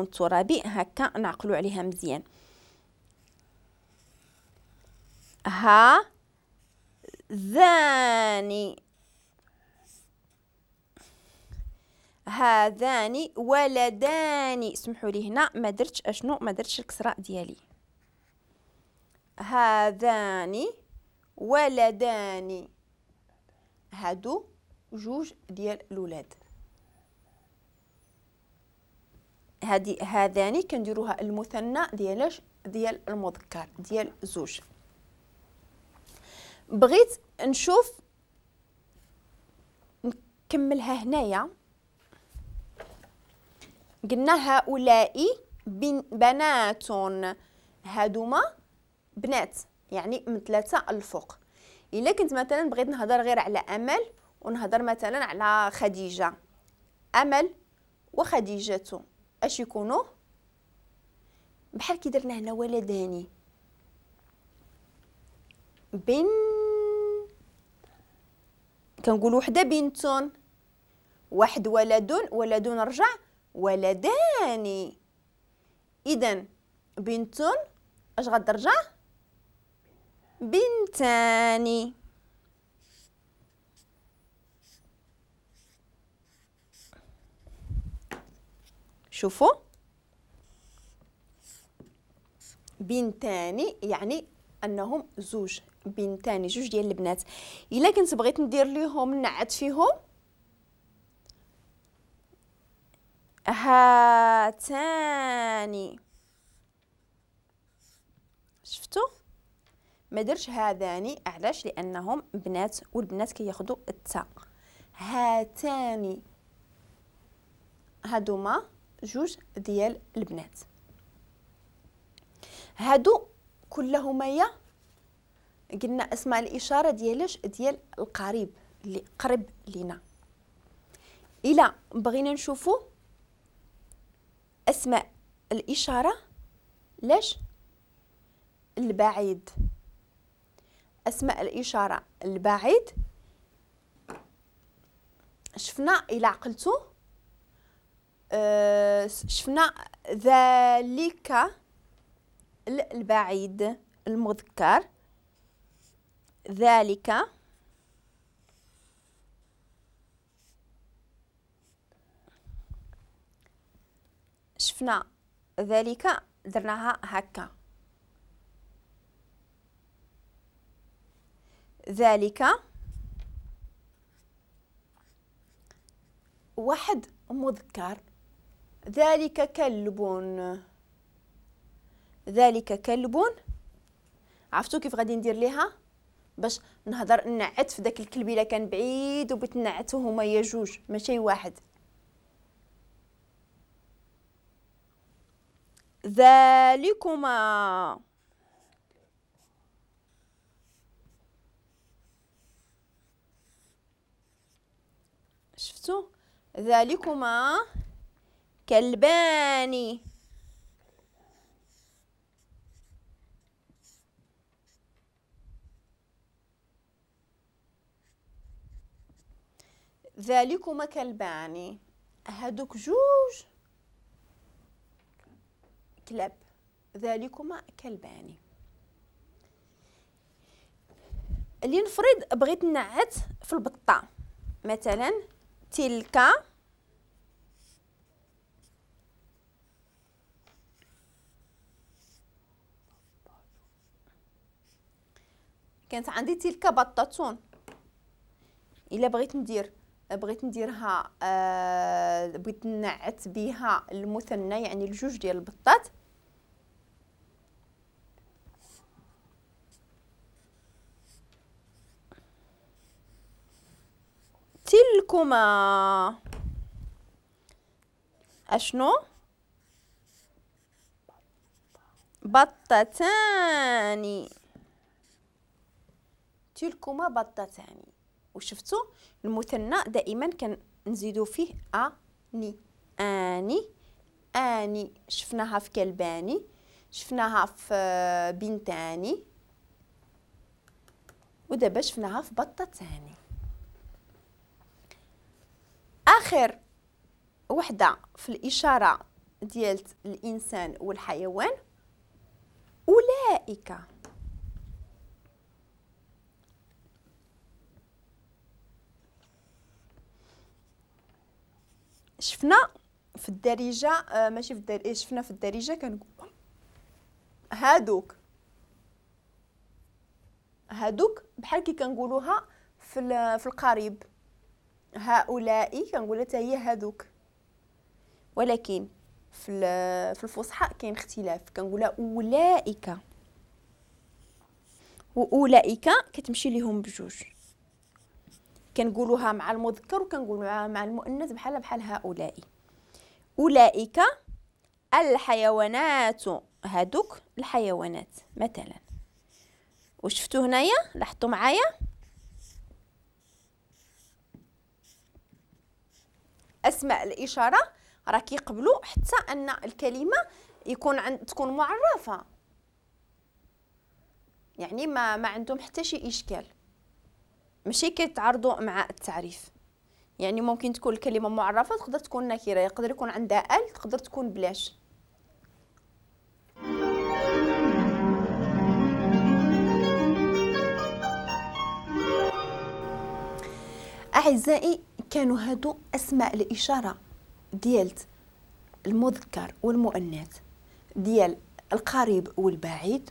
الترابي هكا نعقلوا عليها مزيان. ها ذاني، هذان ولدان. سمحوا لي هنا ما درتش اشنو، ما درتش الكسرة ديالي. هذان ولدان، هادو جوج ديال الولاد. هادي هذان كنديروها المثنى ديالاش؟ ديال المذكر، ديال زوج. بغيت نشوف نكملها هنايا. قلنا هؤلاء بنات، هادوما بنات يعني من 3 الفوق. الا كنت مثلا بغيت نهضر غير على امل ونهضر مثلا على خديجة، امل وخديجة اش يكونوا؟ بحال كي درنا هنا ولداني، بن كنقول وحده بنت، واحد ولد، ولد رجع ولدان. اذا بنت اش غترجع؟ بنتان. شوفوا بنتان يعني انهم زوج، بنتان جوج ديال البنات. الا كنت بغيت ندير ليهم نعت فيهم هاتان، شفتوا ما درش هذان، علاش؟ لانهم بنات والبنات كياخذوا التاء. هاتان هادوما جوج ديال البنات. هادو كلهما يا قلنا اسماء الاشارة ديالاش؟ ديال القريب اللي قرب لينا. الا بغينا نشوفوا اسماء الاشارة لاش؟ البعيد. اسماء الاشارة البعيد شفنا الى عقلتو، شفنا ذلك البعيد المذكر، ذلك شفنا ذلك درناها هكا، ذلك واحد مذكر، ذلك كلب، ذلك كلب. عرفتوا كيف غادي ندير ليها باش نهضر نعت في داك الكلب الا كان بعيد وبغيت نعتو هما يا جوج ماشي واحد. ذلكما، شفتوا؟ ذلكما كلبان. ذلكما كلبان، هادوك جوج كلاب، ذلكما كلبان. اللي نفرض بغيت نعت في البطة مثلا، تلك كانت عندي تلك بطة. الا بغيت ندير، بغيت نديرها بغيت نعت بها المثنى يعني الجوج ديال البطات، تلكما اشنو؟ بطتان. تلكما بطتان. وشفتوا المثنى دائما كنزيدو فيه اني، اني، اني. شفناها في كلباني، شفناها في بنتاني، ودابا شفناها في بطتاني. اخر وحده في الاشارة ديال الانسان والحيوان اولئك. شفنا في الدارجة ماشي في الدارجة، شفنا في الدارجة كنقول هادوك هادوك بحال كي كنقولوها في القريب، هؤلاء كنقولها حتى هي هادوك، ولكن في الفصحى كاين اختلاف، كنقولها اولئك، واولئك كتمشي ليهم بجوج، كنقولوها مع المذكر وكنقولوها مع المؤنث بحال بحال هؤلاء. اولئك الحيوانات، هادوك الحيوانات مثلا. وشفتو هنايا، لاحظتوا معايا اسماء الاشارة راه كيقبلوا حتى ان الكلمة يكون تكون معرفة، يعني ما عندهم حتى شي اشكال، ماشي كيتعارضوا مع التعريف. يعني ممكن تكون الكلمة معرفة، تقدر تكون نكره، يقدر يكون عندها ال، تقدر تكون بلاش. اعزائي كانوا هادو اسماء الاشارة ديال المذكر والمؤنث، ديال القريب والبعيد،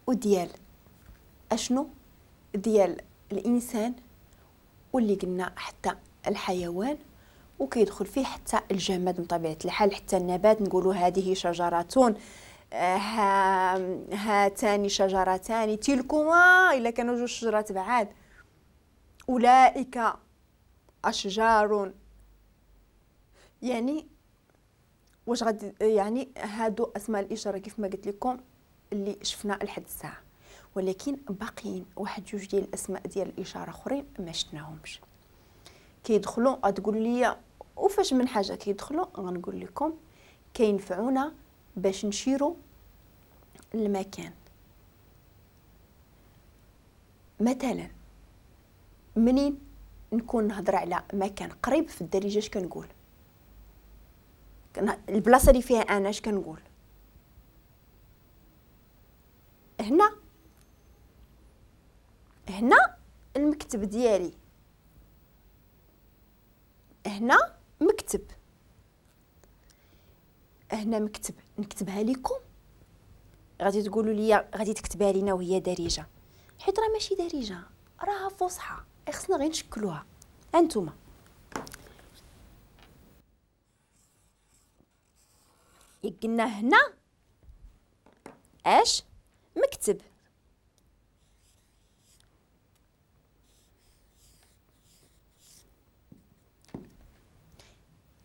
وديال اشنو، ديال الانسان، واللي قلنا حتى الحيوان، وكيدخل فيه حتى الجماد من طبيعة الحال، حتى النبات نقولوا هذه شجرة، هاتان شجرتان، تلكما الا كانوا جوج شجرات بعاد، اولئك اشجار. يعني واش غادي يعني هادو اسماء الاشارة كيف ما قلت لكم اللي شفنا لحد الساعة، ولكن باقيين واحد جوج ديال الاسماء ديال الاشارة اخرين ما شفناهمش. كيدخلوا غتقول لي وفاش من حاجة كيدخلوا، غنقول لكم كينفعونا باش نشيروا المكان. مثلا منين نكون نهضر على مكان قريب في الدارجة اش كنقول؟ البلاصة اللي فيها انا اش كنقول؟ هنا، هنا المكتب ديالي، هنا مكتب، هنا مكتب. نكتبها لكم غادي تقولوا لي غادي تكتبها لينا وهي دارجه، حيت راه ماشي دارجه، راها فصحى، خصنا غير نشكلوها. انتما قلنا هنا اش مكتب،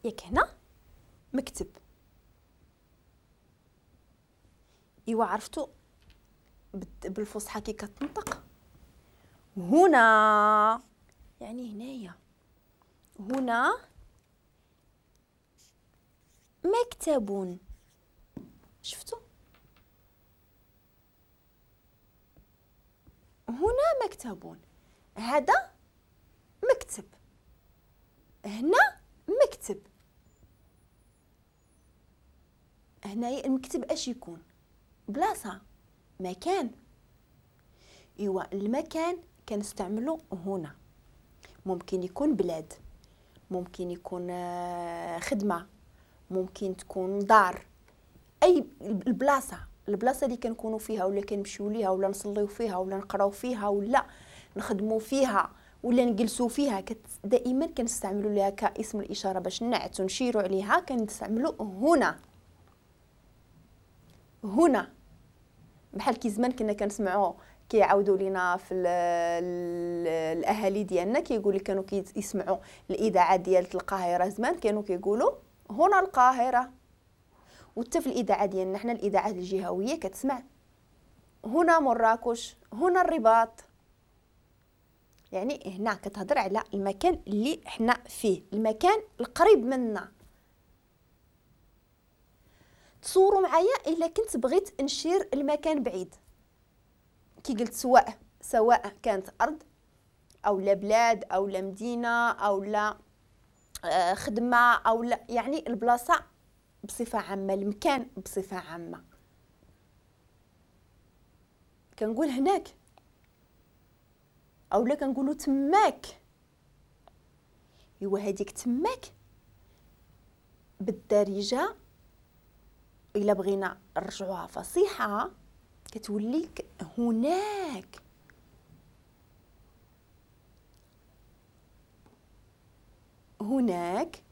ياك هنا مكتب. ايوا عرفتوا بالفصحى كي كتنطق هنا، يعني هنايا هنا مكتب. شفتوا هنا مكتب، هذا مكتب، هنا مكتب. هنايا المكتب اش يكون؟ بلاصة، مكان. ايوا المكان كنستعملو هنا، ممكن يكون بلاد، ممكن يكون خدمة، ممكن تكون دار، اي البلاصة، البلاصة اللي كنكونوا فيها ولا كنمشيو ليها ولا نصليو فيها ولا نقراو فيها ولا نخدموا فيها ولا نجلسوا فيها، دائما كنستعملوا ليها كاسم الاشارة باش نعتو نشيروا عليها، كنستعملوا هنا. هنا بحال كي زمان كنا كنسمعوا كيعاودوا لينا في الاهالي ديالنا، كيقول لك كانوا كيسمعوا الاذاعة ديال القاهرة زمان، كانوا كيقولوا هنا القاهرة. وحتى في الاذاعة ديالنا حنا الاذاعات الجهوية كتسمع هنا مراكش، هنا الرباط. يعني هنا كتهضر على المكان اللي حنا فيه، المكان القريب منا. تصوروا معايا الا كنت بغيت نشير المكان بعيد، كي قلت سواء كانت ارض او لا بلاد او لا مدينة او لا خدمة او لا، يعني البلاصة بصفة عامة، المكان بصفة عامة. كنقول هناك اولا كنقولوا تماك. ايوا هذيك تماك بالدارجة الا بغينا نرجعوها فصيحة كتولي هناك. هناك